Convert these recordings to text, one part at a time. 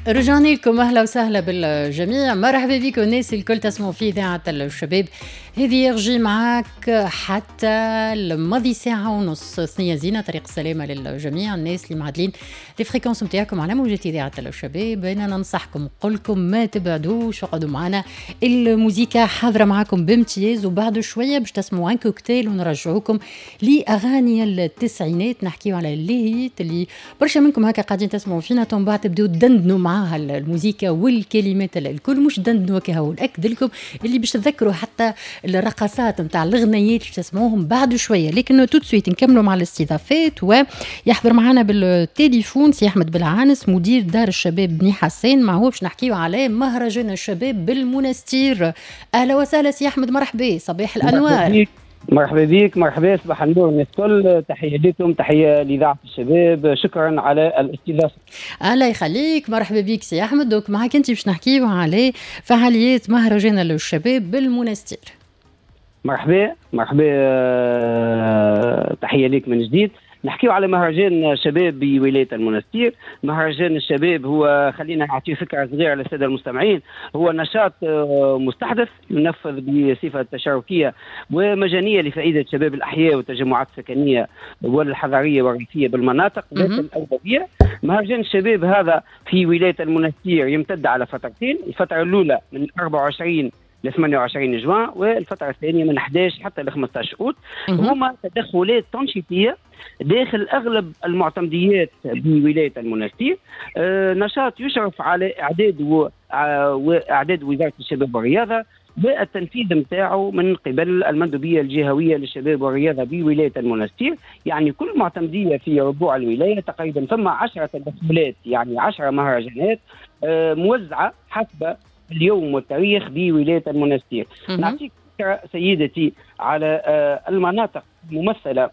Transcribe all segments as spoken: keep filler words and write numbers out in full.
رجعنا لكم، اهلا وسهلا بالجميع، مرحبا بكم الناس الكل تسمعوا في اذاعة الشباب. هذه يرجي معاك حتى الماضي ساعة ونص، ثنية زينة، طريق السلامة للجميع. الناس اللي معدلين les fréquences نتاعكم على موجة إذاعة الشباب، أنا ننصحكم نقول لكم ما تبعدوش، اقعدوا معنا، الموزيكا حاضرة معاكم بامتياز. وبعد شوية باش تسمعوا un cocktail ونرجعوكم لأغاني التسعينات، نحكيو على les hits اللي برشا منكم هكا قاعدين تسمعوا فينا، من بعد تبداو تدندنوا معاها الموزيكا والكلمات الكل. مش دندنوا كهو، نأكد لكم اللي باش تذكروا حتى الرقصات نتاع الغنيات اللي تسمعوهم بعد شويه. لكن tout de suite نكملوا مع الاستضافات، ويحضر معنا بالتليفون سي احمد بالعانس، مدير دار الشباب بني حسين، معه باش نحكيو على مهرجان الشباب بالمنستير. اهلا وسهلا سي احمد، مرحبا، صباح الانوار. مرحبا بك، مرحبا، صباح النور الناس الكل، تحية لكم، تحية لاذاعة الشباب، شكرا على الاستضافه. الله يخليك، مرحبا بك سي احمد. donc معك انت باش نحكيو على فعاليات مهرجان الشباب بالمنستير. مرحبا مرحبا، آه، تحية لك من جديد. نحكيو على مهرجان شباب بولاية المنستير. مهرجان الشباب هو، خلينا نعطي فكرة صغيرة للسادة المستمعين، هو نشاط آه، مستحدث ينفذ بصفة تشاركيه ومجانيه لفائدة شباب الاحياء والتجمعات السكنية والحضريه والريفيه بالمناطق ذات الاولويه. مهرجان الشباب هذا في ولاية المنستير يمتد على فترتين، الفترة الاولى من أربعة وعشرين ل ثمانية وعشرين جوان، والفترة الثانية من أحد عشر حتى ل خمسة عشر اوت. هما تدخلات تنشيطيه داخل اغلب المعتمديات بولاية المنستير. آه نشاط يشرف على اعداد و واعداد وزارة الشباب والرياضة والتنفيذ نتاعو من قبل المندوبيه الجهوية للشباب والرياضة بولاية المنستير. يعني كل معتمديه في ربوع الولاية تقريبا ثم عشرة تدخلات، يعني عشرة مهرجانات آه، موزعة حسب اليوم والتاريخ بولاية المنستير. نعطيك فكرة سيدتي على آه، المناطق الممثلة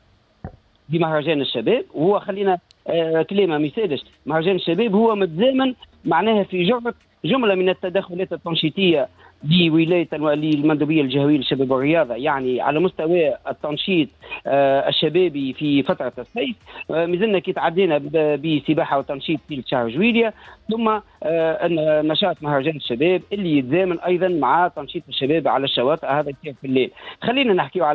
بمهرجان الشباب. وهو خلينا آه كلمة ما يسالش، مهرجان الشباب هو متزامن معناها في جرة جملة من التدخلات التنشيطيه لولاية للمندوبيه الجهوية للشباب والرياضه، يعني على مستوى التنشيط آه الشبابي في فترة الصيف. آه مازلنا كي تعدينا بسباحه وتنشيط في شهر جويليا، ثم آه نشاط مهرجان الشباب اللي يتزامن ايضا مع تنشيط الشباب على الشواطئ، هذا يصير في الليل. خلينا نحكيو على